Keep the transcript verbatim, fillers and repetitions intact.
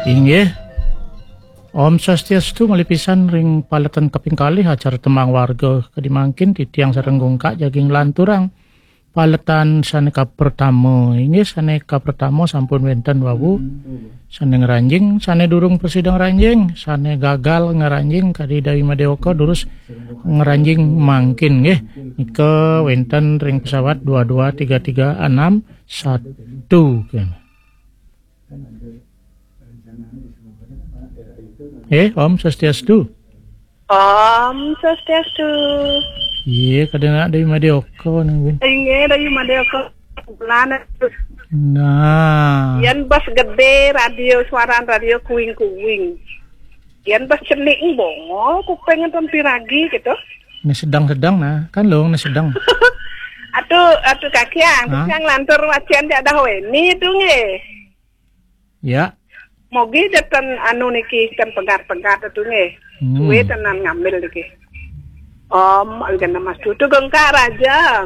Inggih. Om Swastiastu, malih pisan ring paletan kaping kalih acara Tembang Warga kadi mangkin, titiang sareng Gungkak jagi nglanturang paletan sane kapertama. Inggih, sane kapertama sampun wenten wau sane ngranjing, sane durung prasida ngranjing, sane gagal ngranjing kadi Dawi Madewaka durus ngranjing mangkin nggih. Nika wenten ring pesawat dua dua tiga tiga enam satu kene. Eh, Om Swastiastu. Om Swastiastu. Iya, kadang nak dari Madioka nih, Win. Inggih, dari Madioka. Bulan. Nah. Yen bas gede radio, suaran radio kuing-kuing. Yen bas cenik bongo, kuping enten piragi gitu. Ini sedang-sedang nah, kan lo ini sedang. Atuh, atuh kakiang, Hah? Kakiang lantur wacian jak dah weni itu nggih. Ya. Mogi deten anu niki ten pegat-pegat itu nggih. Hmm. Suwe tenan ngambil niki. Om, algana mas tutu gengka raja.